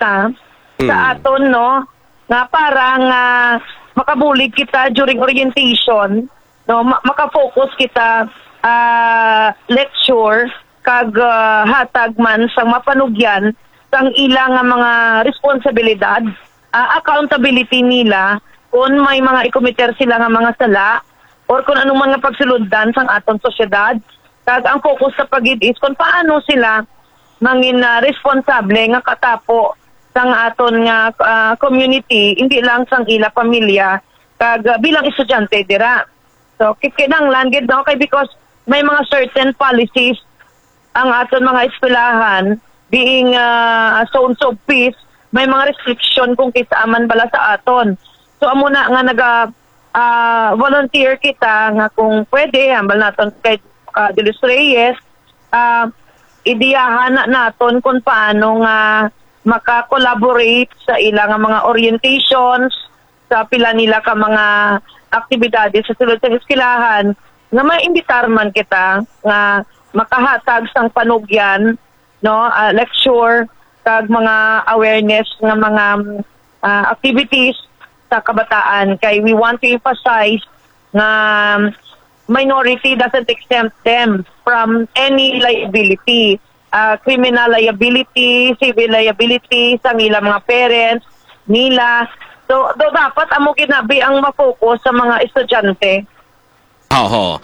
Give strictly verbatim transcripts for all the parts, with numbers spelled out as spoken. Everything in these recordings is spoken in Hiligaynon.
ah, sa Mm. aton, no, nga para nga makabulig kita during orientation, no, ma-, makafocus kita, ah, lecture kag, ah, hatag man sang mapanugyan sang ila nga mga responsibilidad, ah, accountability nila kung may mga ikomiter sila nga mga sala or kung ano man nga pagsulundan sang aton sosyedad. Kag ang focus sa pagid is kung paano sila mangin, ah, responsable nga katapo sang aton nga, ah, community, hindi lang sang ila pamilya kag, ah, bilang estudyante dira. So, ki-, kinahanglan gid, no, kay because may mga certain policies ang aton mga eskwelahan, being, ah, zones of peace, may mga restriction kung kinsa man bala sa aton. So, amo na nga naga, ah, volunteer kita nga kung pwede, hambal naton kay, ah, De Los Reyes, ah, ideyahan na naton kung paano nga maka-collaborate sa ila nga mga orientations, sa pila nila ka mga aktibidades sa sulod sang eskwelahan, nga maimbitar man kita nga makahatag sang panugyan, no, ah, lecture, kag mga awareness nga mga, ah, activities sa kabataan. Kay we want to emphasize nga minority doesn't exempt them from any liability, ah, criminal liability, civil liability, sang ilang mga parents nila. So, do, dapat amo ginabi ang ma-focus sa mga estudyante. Oho.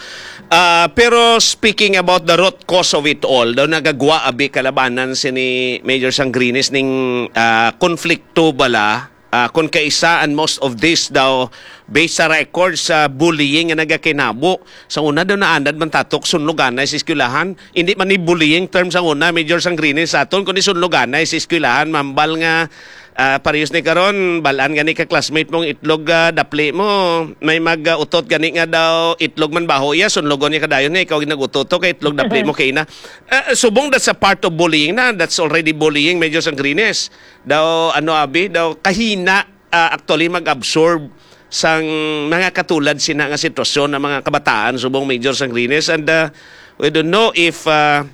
Ah, pero speaking about the root cause of it all, daw nagagwa abi kalabanan sini Major Sangrines ning, ah, konflikto bala, ah, kung kaisa, and most of this daw based sa records sa bullying nga nagakinabo. Sa una daw naanad man tatok sunloganay sa eskwelahan. Hindi man ni bullying term sa una, Major Sangrines, sa aton, kundi sunloganay sa eskwelahan, mambal nga, ah, parehas ni karon, balaan gani ka classmate mong itlog, ah, dapli mo, may mag, ah, utot gani nga daw itlog man baho iya, sunlogon niya kadayon niya, ikaw nag-utot to kay itlog dapli mo kay na. Ah, subong that's a part of bullying na, that's already bullying, Major Sangrines. Daw, ano, abi, daw kahina, ah, actually mag-absorb sang mga katulad sina nga sitwasyon ng mga kabataan subong, Major Sangrines. And, ah, we don't know if, ah,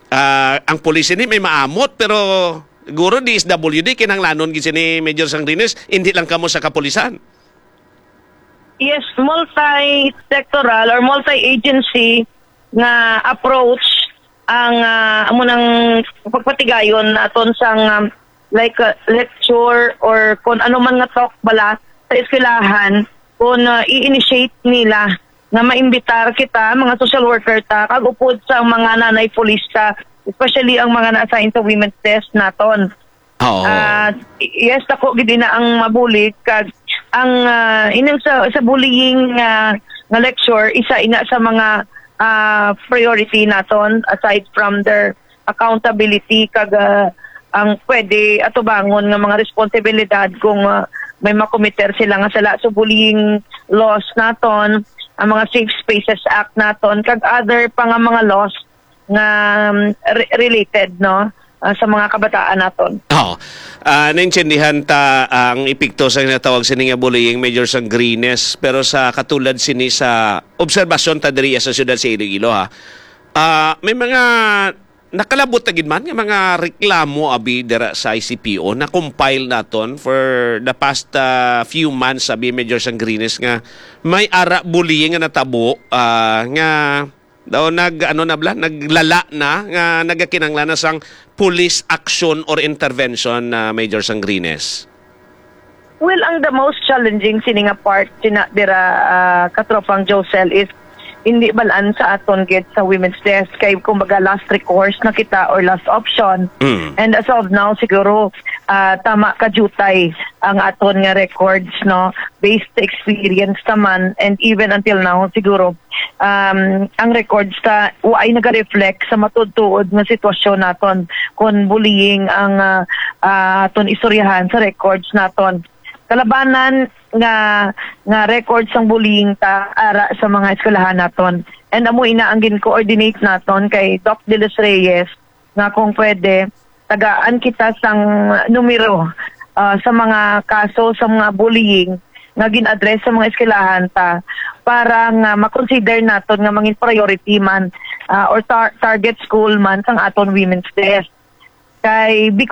ah, ang pulis ini may maamot, pero siguro D S W D kinahanglanon gid sini, Major Sangrines, hindi lang kamo sa kapulisan. Yes, multi-sectoral or multi-agency nga approach ang, ah, amo nang pagpatigayon naton sang, um, like, uh, lecture or kon ano man nga talk bala sa eskwelahan, kon, uh, i-initiate nila nga maimbitar kita, mga social worker ta, kag upod sa mga nanay pulis ta, especially ang mga na-assign sa women's desk naton. Oo. Ah, y-, yes, ako gid ina ang mabulig kag ang, ah, inang sa, sa bullying nga, nga lecture, isa ina sa mga, ah, priority naton aside from their accountability kag, ah, ang pwede atubangon nga mga responsibilidad kung, ah, may makomiter sila nga sala. So, bullying laws naton, ang mga Safe Spaces Act naton, kag other pa nga mga laws nga, um, re-, related, no, ah, sa mga kabataan naton. Oo. Ah, naintindihan ta ang epekto sa ginatawag sini nga bullying, Major Sangrines, pero sa katulad sini sa obserbasyon ta diri sa siyudad sa Iloilo, ha. Ah, may mga nakalabot na gid man nga mga reklamo abi dira sa I C P O na compile naton for the past, ah, few months abi, Major Sangrines, nga may ara bullying nga natabo, ah, nga daw nag, ano na bala, naglala na nga nagakinanglan na sang police action or intervention na, Major Sangrines. Well, ang the most challenging sini nga part sina dira, ah, katropang Josel, is hindi balaan sa aton gid sa women's desk kay kumbaga last recourse na kita or last option. Mm. And as of now, siguro, ah, tama ka jutay ang aton nga records, no, based sa experience naman, and even until now siguro, um, ang records ta waay naga-reflect sa matuod-tuod nga sitwasyon naton kon bullying ang, ah, ah, aton istoryahan sa records naton. Kalabanan nga, nga records sang bullying ta ara sa mga eskwelahan naton. And amo ina ang gin-coordinate naton kay Doc De Los Reyes nga kung pwede, tagaan kita sang numero, ah, sa mga kaso sa mga bullying nga gin-address sa mga eskwelahan ta para nga ma-consider naton nga mangin priority man, ah, or tar-, target school man sang aton women's desk. Kay because